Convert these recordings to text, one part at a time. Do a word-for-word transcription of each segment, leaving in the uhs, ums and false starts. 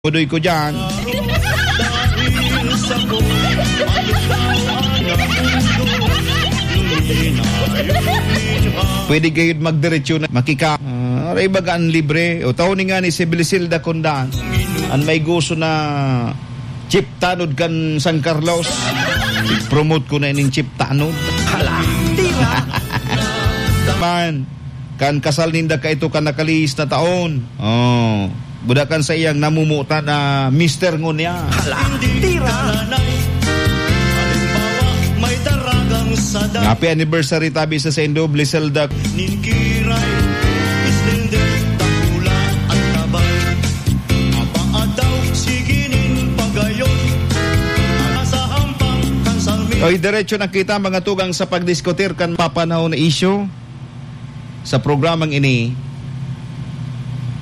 Tudoy ko dyan. Pwede kayo magdiretso na makika-, ah, aray baga an libre. O, tao ni nga ni si Briselda Kundan. An may gusto na chief tanod kan San Carlos. Promote ko na ining chief tanod. Hala, tira! Man, kan kasal ninda kaito kan nakalihis na taon. Oh, buda kan saiyang namumutan na mister ngunyan. Hala, tira! Happy anniversary tabi sa saindo, Briselda. Nin kiray, islender, dakula an tabang. Apaadaw, sige nin pagayon. Nasa hampang kan salmi. Oy, diretso na kita, mga tugang, sa pagdiskutir kan papanahon na isyu sa programang ini.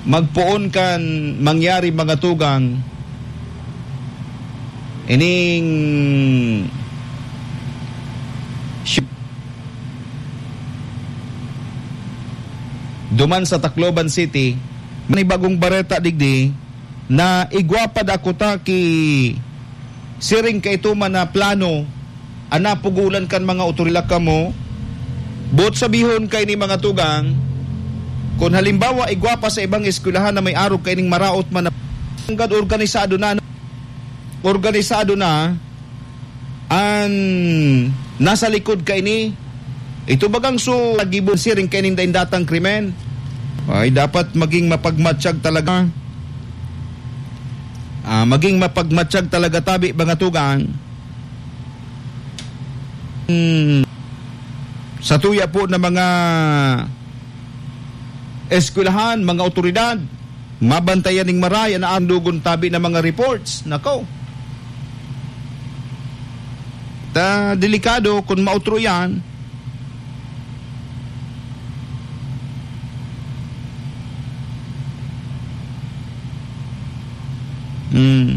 Magpoon kan mangyari, mga tugang, ining duman sa Tacloban City, may bagong bareta digdi na igwa pa dakuta ki siring kaito man na plano, an napugolan kan mga otoridad kamo. Boot sabihon kaini, mga tugang, kun halimbawa, igwa pa sa ibang eskwelahan na may arog kaining maraot man na, hanggang organisado na, organisado na an nasa likod kaini. Ito bagang so, nagibon siring kaining daindatang krimen. Ay, dapat maging mapagmatsyag talaga. Ah, maging mapagmatsyag talaga tabi, mga tugang. Hmm, sa tuya po ng mga eskwelahan, mga otoridad, mabantayan ning maray an aandugon tabi na mga reports. Nako. Ta, delikado kun mautro yan. Hmm.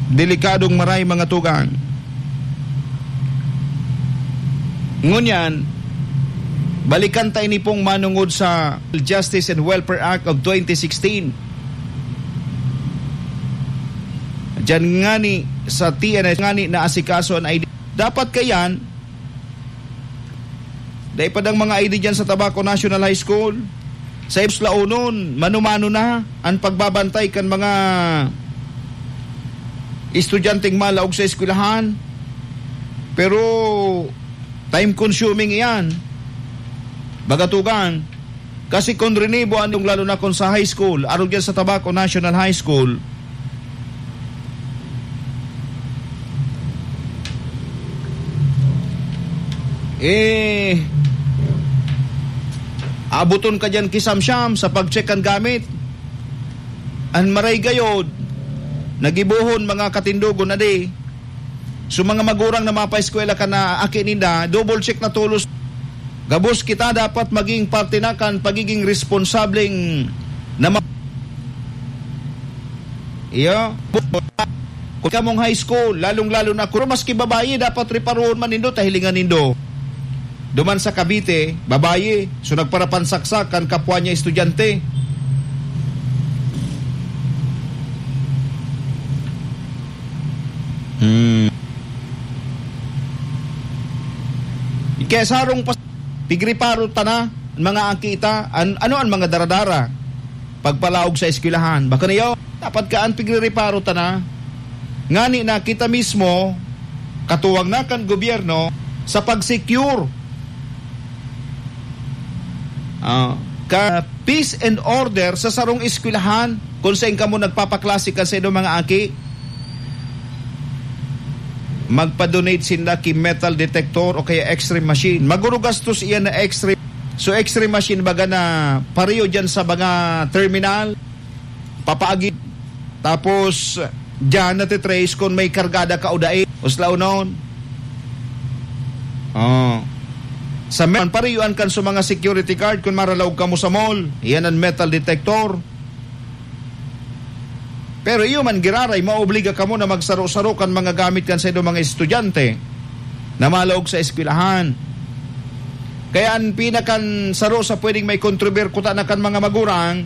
Delikadong maray, mga tugang. Ngunyan, balikan ta ini pong manungod sa Justice and Welfare Act of twenty sixteen. Diyan ngani sa T N S ngani naasikaso an I D. Dapat kayan, dai pa dang mga I D diyan sa Tabaco National High School. Sa Ips Laonon, mano-mano na an pagbabantay kan mga estudyanteng malaog sa eskwelahan. Pero time consuming iyan. Baga tugang, kasi kun rinibo an, lalo na kun sa high school, arog yan sa Tabaco National High School, eh, abuton ka diyan kisamsyam sa pag-check kan gamit. An maray gayod, nagibohon mga katindogon na di. So, mga magurang na mapaeskwela kan aki ninda, double check na tolos. Gabos kita dapat maging parte na kan pagiging responsableng na ma-, iyo. Kun kamong high school, lalong-lalo na kun maski babayi, dapat reparohon man nindo, ta hilingan nindo. Duman sa Cavite, babayi, so nagparapansaksak kan kapwa niya estudyante. Hmm. Kaya sarong pas-, pigriparo ta na, mga aki ta, an-, ano an mga daradara? Pagpalaog sa eskwelahan. Baka niyo, dapat kaan pigrereparo ta na. Ngani na kita mismo, katuwang na kan gobyerno, sa pag-secure, ah, ka peace and order sa sarong eskwelahan, kung saan kamo nagpapaklase kan sa inyong mga aki. Magpa-donate sinda ki metal detector o kaya X-ray machine. Maguro gastos iyan na X-ray. So, X-ray machine baga na pareho dyan sa mga terminal, papaagi. Tapos, dyan natitrace kung may kargada ka o dai. Uslaw noon. Oh. Sa me-, pareho an kan sa mga security guard kung maralaog kamo sa mall. Iyan ang metal detector. Pero iyo man giraray, maobliga kamo na magsaro-saro kan mga gamit kan sa inyong mga estudyante na malaog sa eskwelahan. Kaya an pinakan saro sa pwedeng may kontroberkuta na kan mga magurang,